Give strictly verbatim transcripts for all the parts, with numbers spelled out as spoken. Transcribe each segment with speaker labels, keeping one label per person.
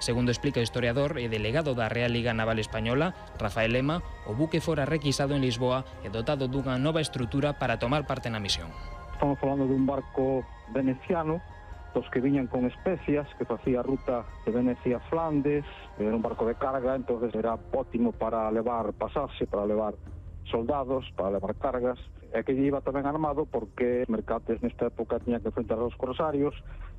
Speaker 1: Segundo explica o historiador e delegado da Real Liga Naval Española, Rafael Lema, o buque fora requisado en Lisboa e dotado dunha nova estrutura para tomar parte na misión.
Speaker 2: Estamos falando dun barco veneciano, dos que viñan con especias, que facía a ruta de Venecia a Flandes, era un barco de carga, entonces era ótimo para levar pasaxe, para levar soldados, para levar cargas, e que iba tamén armado porque Mercates nesta época tiña que enfrentar aos corsarios.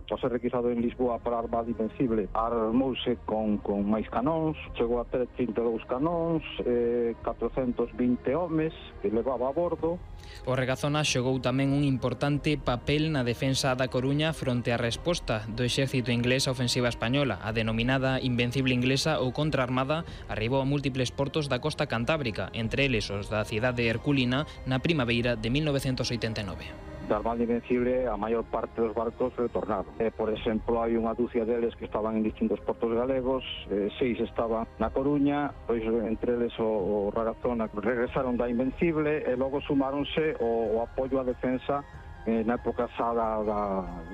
Speaker 2: Ao ser requisado en Lisboa para a Armada Invencible, armouse con, con máis canóns, chegou a ter trinta e dous canóns, eh, catrocentos vinte homes que levaba a bordo.
Speaker 1: O Regazona xogou tamén un importante papel na defensa da Coruña fronte á resposta do exército inglés á ofensiva española. A denominada Invencible Inglesa ou Contraarmada arribou a múltiples portos da costa cantábrica, entre eles os da cidade herculina na primavera de mil novecentos oitenta e nove.
Speaker 2: Da Armada Invencible a maior parte dos barcos retornaron. Eh, por exemplo, hai unha dúcia deles que estaban en distintos portos galegos, eh, seis estaban na Coruña, pois entre eles o, o Ragazona regresaron da Invencible e logo sumáronse o, o apoio á defensa eh, na época xa da, da,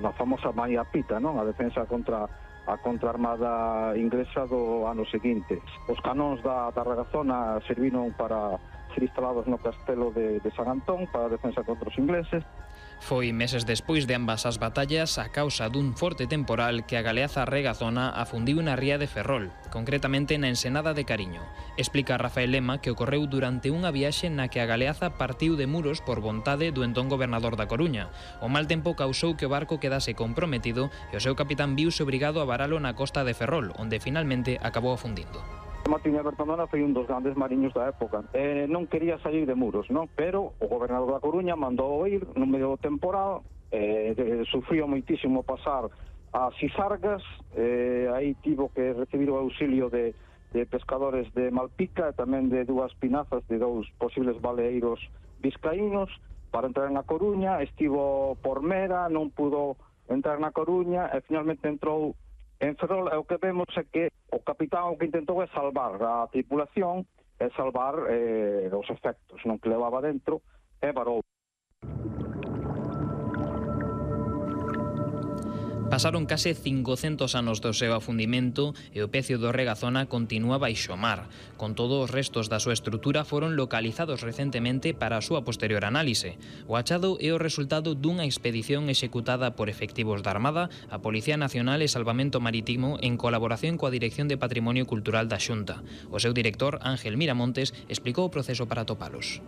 Speaker 2: da famosa María Pita, non? A defensa contra a contraarmada inglesa do ano seguinte. Os canóns da, da Ragazona serviron para ser instalados no castelo de, de San Antón para a defensa contra os ingleses.
Speaker 1: Foi meses despois de ambas as batallas a causa dun forte temporal que a galeaza Regazona afundiu na ría de Ferrol, concretamente na ensenada de Cariño. Explica Rafael Lema que ocorreu durante unha viaxe na que a galeaza partiu de Muros por vontade do entón gobernador da Coruña. O mal tempo causou que o barco quedase comprometido e o seu capitán viuse obrigado a varalo na costa de Ferrol, onde finalmente acabou afundindo.
Speaker 2: Martín Bertondona foi un dos grandes mariños da época. Eh, non quería salir de Muros, non? Pero o gobernador da Coruña mandou ir no medio do temporal, eh, de, sufrió moitísimo pasar a Sisargas, eh, aí tivo que recibir o auxilio de, de pescadores de Malpica e tamén de dúas pinazas de dous posibles baleeiros vizcaínos para entrar na Coruña. Estivo por Mera, non pudo entrar na Coruña e finalmente entrou en Ferrol. E o que vemos é que o capitán o que intentou é salvar a tripulación e salvar eh, os efectos non que levaba dentro e varou.
Speaker 1: Pasaron case cincocentos anos do seu afundimento e o pecio do Regazona continúa baixo mar. Con todo, os restos da súa estrutura foron localizados recentemente para a súa posterior análise. O achado é o resultado dunha expedición executada por efectivos da Armada, a Policía Nacional e Salvamento Marítimo en colaboración coa Dirección de Patrimonio Cultural da Xunta. O seu director, Ángel Miramontes, explicou o proceso para atopalos.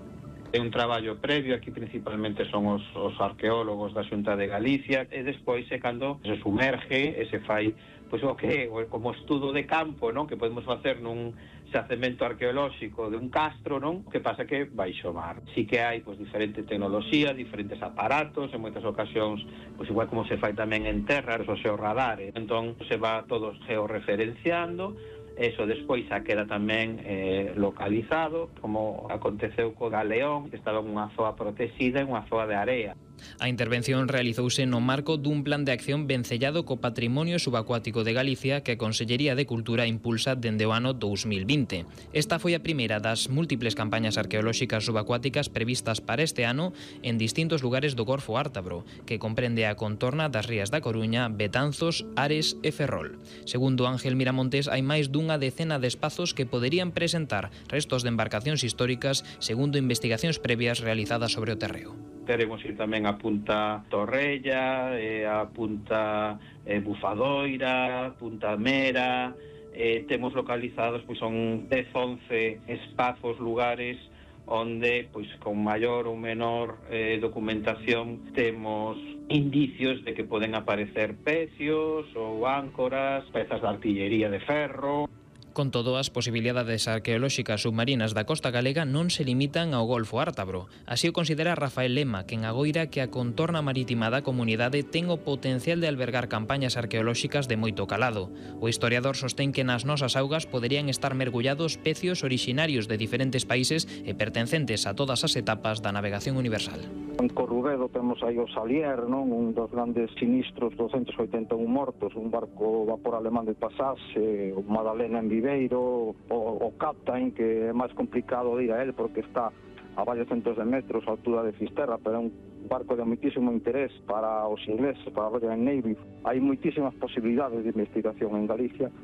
Speaker 3: É un traballo previo, aquí principalmente son os, os arqueólogos da Xunta de Galicia, e despois é cando se sumerge e se fai pois o que é como estudo de campo, non? Que podemos facer nun xacemento arqueolóxico de un castro, non? Que pasa que baixo mar. Si que hai pois diferente tecnoloxía, diferentes aparatos, en moitas ocasións, pois igual como se fai tamén en terra, os xeorradares. Entón se va todos georreferenciando. Eso despois xa queda tamén eh, localizado, como aconteceu co Galeón, que estaba en unha zoa protexida, en unha zoa de area.
Speaker 1: A intervención realizouse no marco dun plan de acción vencellado co patrimonio subacuático de Galicia que a Consellería de Cultura impulsa dende o ano dous mil vinte. Esta foi a primeira das múltiples campañas arqueolóxicas subacuáticas previstas para este ano en distintos lugares do Golfo Ártabro, que comprende a contorna das rías da Coruña, Betanzos, Ares e Ferrol. Segundo Ángel Miramontes, hai máis dunha decena de espazos que poderían presentar restos de embarcacións históricas segundo investigacións previas realizadas sobre o terreo.
Speaker 3: Teremos ir tamén a Punta Torrella, eh, a Punta eh, Bufadoira, Punta Mera. Eh, temos localizados, pois son dez, once espazos, lugares onde, pois con maior ou menor eh, documentación temos indicios de que poden aparecer pecios ou áncoras, pezas de artillería de ferro.
Speaker 1: Con todo, as posibilidades arqueolóxicas submarinas da costa galega non se limitan ao Golfo Ártabro. Así o considera Rafael Lema, quen agoira que a contorna marítima da comunidade ten o potencial de albergar campañas arqueolóxicas de moito calado. O historiador sostén que nas nosas augas poderían estar mergullados pecios orixinarios de diferentes países e pertencentes a todas as etapas da navegación universal.
Speaker 2: En Corrubedo temos aí o Salier, non? Un dos grandes sinistros, douscentos oitenta e un mortos, un barco vapor alemán de pasaxe, o Madalena en Viveiro, o, o Captain, que é máis complicado de ir a él porque está a varios centros de metros a altura de Fisterra, pero é un barco de moitísimo interés para os ingleses, para a Royal Navy. Hai moitísimas posibilidades de investigación en Galicia.